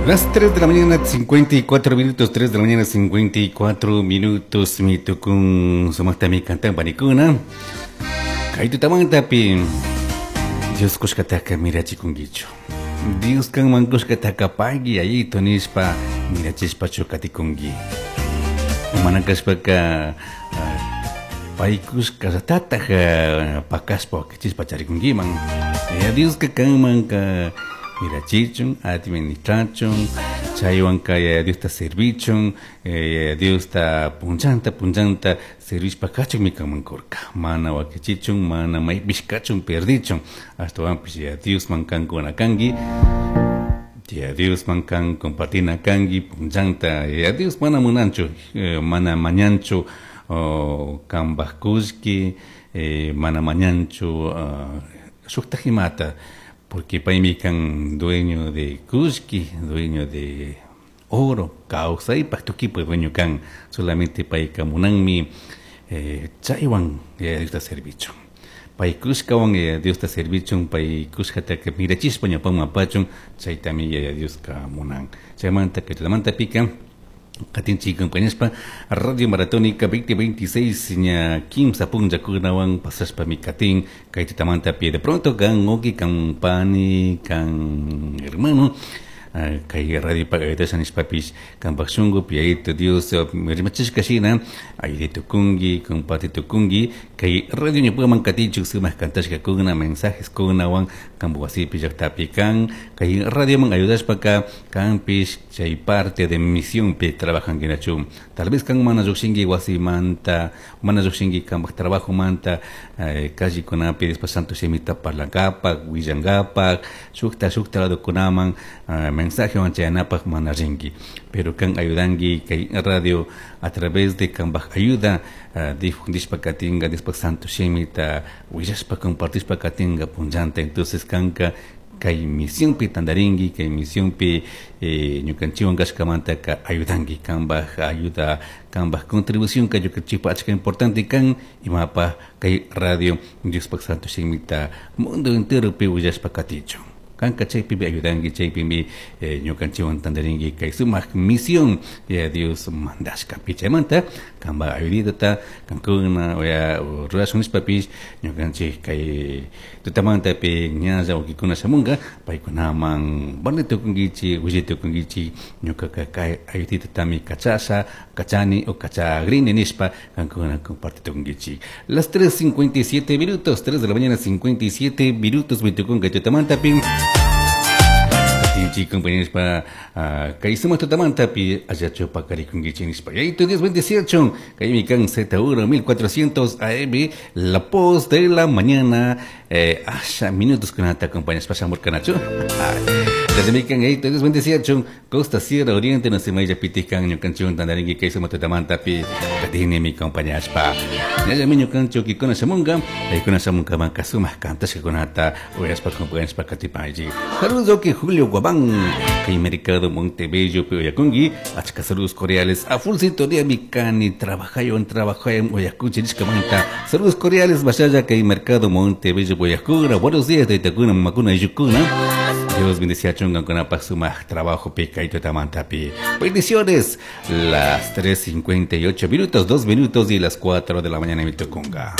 Las 3 de la mañana 54 minutos, 3 de la mañana 54 minutos, mi tukun sumaqtami cantan panikuna. Kay tutamantapi Dios kushkataka mirachikunkichu. Dios kanman kushkataka pagui Yayito nishpa mirachishpachu katikunki. Mana kashpaka pay kushkallatataj pakashpa wakichishpa charikunkiman. Yaya Dioska kanmanka mirachichun, administrachun, chaywanka Yaya Diosta servichun, Yaya Diosta punchanta punchanta servishpa kachunmi kanman kurka. Mana wakichichun, mana maypish kachun perdichun, ashtawanpish Yaya Diosman kankuna kanki. Yaya Diosman kan compartina kanki punchanta. Yaya Dios mana munanchu, mana mañanchu kanpaj kullki, mana mañanchu shuktaj imata, porque paymi kan dueño de kullki, dueño de oro, kawsaypaj tukipaj dueño kan, solamente payka munanmi chaywan Yaya Diosta servichun. Pay kushkawan Yaya Diosta servichun, pay kushkataka mirachishpa ñawpaman apachun, chaytami Yaya Dioska munan. Chaymanta kay tutamantapika katinchik compañashpa Radio Maratónica 2026 ña kimsa punllakunawan pasashpami katin kay tutamantapi. De pronto kan wawki, kan pani, kan hermano, kay radio ayudasha nishpapish kanpak shunkupi Yayito Dios rimachishka shina ayuday tukunki, comparti tukunki kay radio ñawpaman katichuk sumak kantashkakuna mensajes kunawan kanpak wasipi llaktapi kan kay radioman ayudashpaka kanpish chay parte de misionpi trabajankinachu. Tal vez kan mana llukshinki wasimanta, mana llukshinki kanpak trabajomanta, callekunapi después santo shimita parlankapak, willankapak, shukta shukta ladokunaman mensajewan chayanapak mana rinki, pero kan ayudanki kay radio a través de kanpak ayuda difundishpa katinka, después santo shimita willashpa compartishpa katinka punllanta. Entonces kanka kay misionpi tandarinki, kay misionpi ñukanchikwan kashkamantaka ayudanki, kanpak ayuda, kanpak contribución ka ñukanchikpak achka importante kan imapaj kay radio Diospak santo shimita mundo enteropi willashpa katichun. Kanka chaypimi ayudanki, chaypimi ñukanchikwan tandarinki kay sumak misión Yaya Dios mandashkapi. Chaymanta kanpak ayuditata kankuna oya rurashun nishpapish ñukanchik kay tutamantapi ñalla wawkikuna shamunka paykunaman parlay tukunkichik, willay tukunkichik ñukaka kay ayuditatami kachasha, kachani o kachagrini nishpa kankuna comparti tukunkichik. Las 3:57 minutos, 3 de la mañana 57 minutos mitukunka tutamantapi. Tinchi compañeros pa kay sumak tutamantapi allachu pakarikunkichik nishpa. Yayito Dios bendeciachun. Kay mi kan Z1 1400 AM, la voz de la mañana, asha minutos kunata acompañas pashamur kanachu. Desde mi kan Yayito Dios bendeciachun. Costa Sierra Oriente no se maya pitikan ñukanchun tandarinki kay sumak tutamantapi katini mi compañeros pa. Ñalla mi ñukanchu kikuna shamunga, paykuna shamunga manka sumak kantashka kunata uyashpa compañeros pa katipanchi. Saludos que Julio Guabán, kay Mercado Montebello Oyakungi, achka saludos cordiales a full sintonía mi cani, trabajayon, trabajayon, Oyakunchi nishkamanta. Saludos cordiales, vaya kay Mercado Montebello Oyakuna. Buenos días, taytakuna, mamakuna, yukuna. Dios bendice a chungan con sumak trabajo pica y tutamantapi. Bendiciones. Las 3:58 minutos, 2 minutos y las 4 de la mañana en Mitukunga.